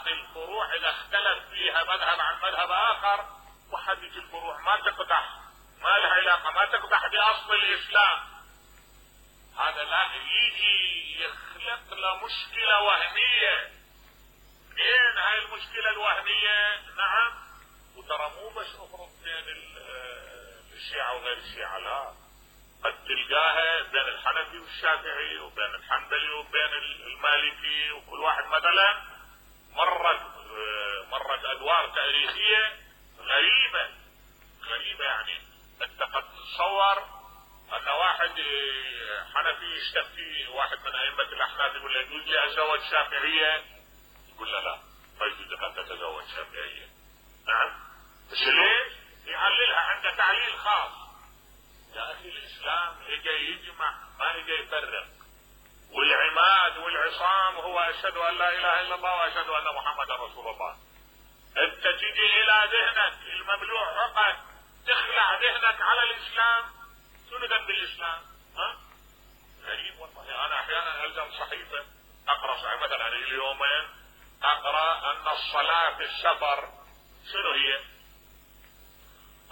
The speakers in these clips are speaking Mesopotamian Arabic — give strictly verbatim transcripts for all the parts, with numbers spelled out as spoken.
باقي الفروع اذا اختلف فيها مذهب عن مذهب اخر، وحدث الفروع ما تقدح، ما لها علاقة، ما تقدح باصل الاسلام. هذا لا يجي يخلق له مشكلة وهمية. بين هاي المشكلة الوهمية نعم، وترى مو بس افرض بين الشيعة وغير الشيعة، لا، قد تلقاها بين الحنفي والشافعي وبين الحنبلي وبين المالكي، وكل واحد مثلا مرت مرت ادوار تاريخية غريبة غريبة. يعني انت قد تتصور ان واحد حنفي يشتكي واحد من ائمة الاحناف يقول له يجوز لي اتزوج شافعية؟ يقول له لا، ما يجوز لك ان تتزوج شافعية. نعم، بس ليش؟ يعللها عنده تعليل خاص. يا اخي الاسلام اجى يجمع، ما اجى يفرق. والعماد والعصام هو اشهد ان لا اله الا الله واشهد ان محمدا رسول الله. انت تجي الى ذهنك المملوء عقد تخلع ذهنك على الاسلام، شنو ذنب الاسلام؟ ها؟ غريب والله. انا احيانا الزم صحيفة اقرا صحيفة مثلا اليومين، اقرا ان الصلاة في السفر شنو هي؟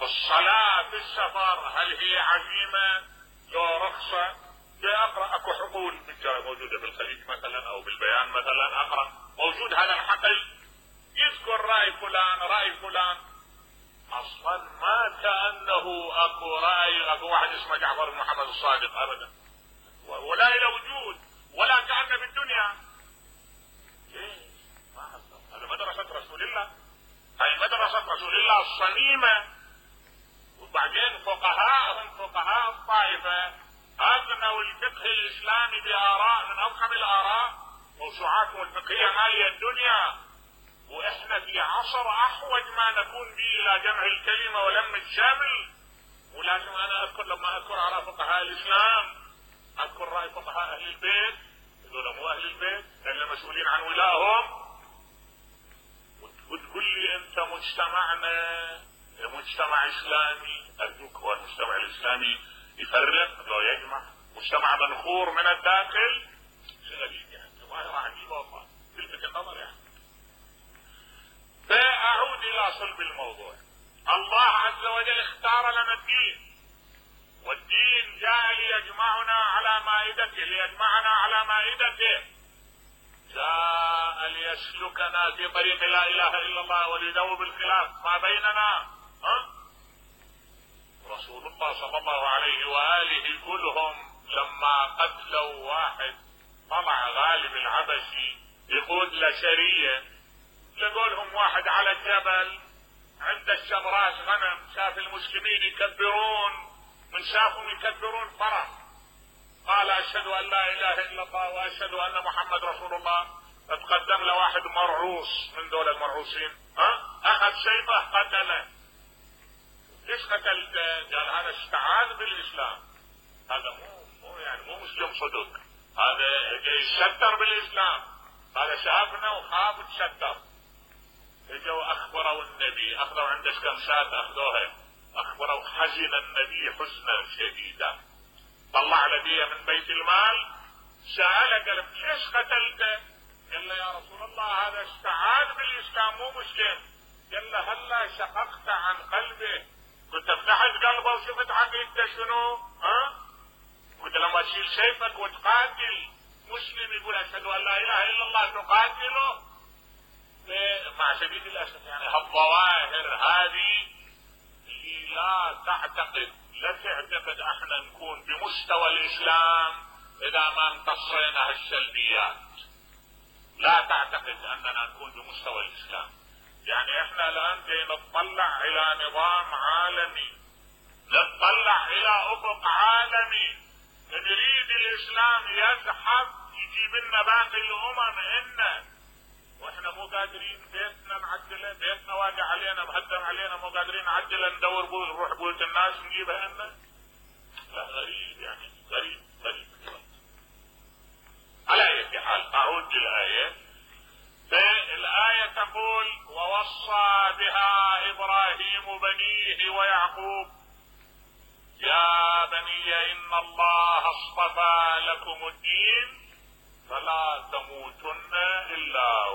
الصلاة في السفر هل هي عزيمة لو رخصة؟ اقرا اكو حقول موجودة بالخليج مثلا او بالبيان مثلا، اقرا موجود هذا الحقل يذكر رأي فلان رأي فلان، اصلا ما كأنه اكو رأي اكو واحد اسمه جعفر بن محمد الصادق ابدا، ولا الى وجود، ولا كأنه بالدنيا. ليش؟ ما حصل. هذا مدرسة رسول الله، هاي مدرسة رسول الله الصميمة. وبعدين فقهاء فقهاء الطائفة اغنوا الفقه الاسلامي باراء من اضخم الاراء، موسوعاتهم الفقهية مالية الدنيا. واحنا في عصر احوج ما نكون به الى جمع الكلمة ولم الشمل. ولازم انا اذكر لما اذكر على فقهاء الاسلام اذكر رأي فقهاء اهل البيت، هذول مو اهل البيت لان مسؤولين عن ولائهم. وتقول لي انت مجتمعنا مجتمع اسلامي، ارجوك هو المجتمع الاسلامي يفرق لو يجمع؟ مجتمع منخور من الداخل؟ شيء غريب يعني، ظاهرة عجيبة والله تلفت النظر يعني. فاعود الى صلب الموضوع. الله عز وجل اختار لنا الدين، والدين جاء ليجمعنا على مائدته، ليجمعنا على مائدته، جاء ليسلكنا في طريق لا اله الا الله وليذوب الخلاف ما بيننا. ها؟ رسول الله صلى الله عليه واله كلهم لما قتلوا واحد طلع غالب العبسي يقود لشرية، لقولهم واحد على الجبل عند الشمراس غنم، شاف المسلمين يكبرون، من شافهم يكبرون فرح، قال اشهد ان لا اله الا الله واشهد ان محمد رسول الله. فتقدم له واحد مرعوص من دول المرعوصين، ها؟ اخذ سيفه قتله. ليش قتلته؟ قال هذا استعاذ بالاسلام، هذا مو مو يعني مو مسلم صدق، هذا يتستر بالاسلام، هذا شافنا وخاف وتستر. اجوا اخبروا النبي، اخذوا عنده كم شاة اخذوها، اخبروا حزن النبي حزنا شديدا، طلع لديه من بيت المال، سأله قال ليش قتلته؟ قال له يا رسول الله هذا استعاذ بالاسلام مو مسلم. قال له هلا شققت عن قلبه، كنت فتحت قلبه وشفت عقيدته شنو؟ ها؟ كنت لما تشيل سيفك وتقاتل مسلم يقول اشهد ان لا اله الا الله تقاتله؟ مع شديد الاسف يعني هالظواهر هذه اللي لا تعتقد لا تعتقد احنا نكون بمستوى الاسلام اذا ما امتصينا هالسلبيات، لا تعتقد اننا نكون بمستوى الاسلام. يعني احنا الان جاي نتطلع الى نظام عالمي، نتطلع الى افق عالمي، نريد الاسلام يزحف يجيب لنا باقي الامم إنه، واحنا مو قادرين بيتنا نعدله، بيتنا واقع علينا مهدم علينا مو قادرين نعدله، ندور بول نروح بولة الناس نجيبها لنا. لا غريب يعني، غريب غريب. على اي حال اعود للآية. فالآية تقول ووصى بها ابراهيم بنيه ويعقوب يا بني ان الله اصطفى لكم الدين فلا تموتن الا